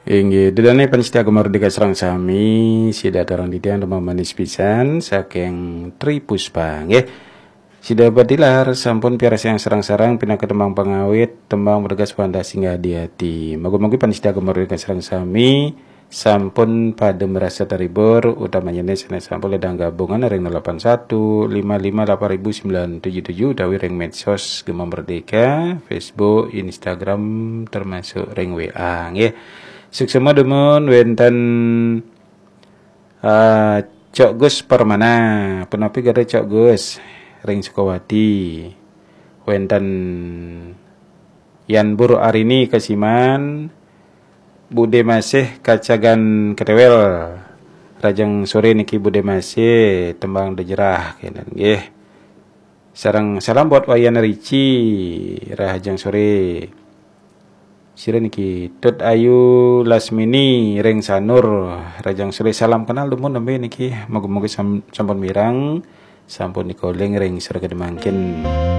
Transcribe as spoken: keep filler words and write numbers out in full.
Inggih, ida dané pamiarsa Gema Merdeka sareng sami, sida aturang titiang tembang manis pisan saking Tri Puspa, nggih. Sida batilar sampun piarsayang sareng-sareng pinaka tembang pangawit, tembang bergas pandas singgah di ati. Mugi-mugi pamiarsa Gema Merdeka sareng sami sampun pada merasa terhibur, utamanya sané sampun ledang gabungan ring nol delapan satu lima lima delapan ribu sembilan tujuh tujuh utawi ring medsos Gema Merdeka, Facebook, Instagram, termasuk ring W A, nggih. Suksma dumun wénten, eh, Cok Gus Permana, punapi gadah Cok Gus ring Sukawati. Wénten Yan Bur Arini Kasiman, Bude Masih Kacagan Ketewel. Rahajeng soré niki Bude Masih, tembang Dejerah kénten nggih. Sareng salam buat Wayan Rici, rahajeng soré. Sira niki Tut Ayu Lasmini ring Sanur, rahajeng soré, salam kenal dumun nembé niki, mugi-mugi sam-, sampun mireng, sampun dikoling ring sira kedemangkin.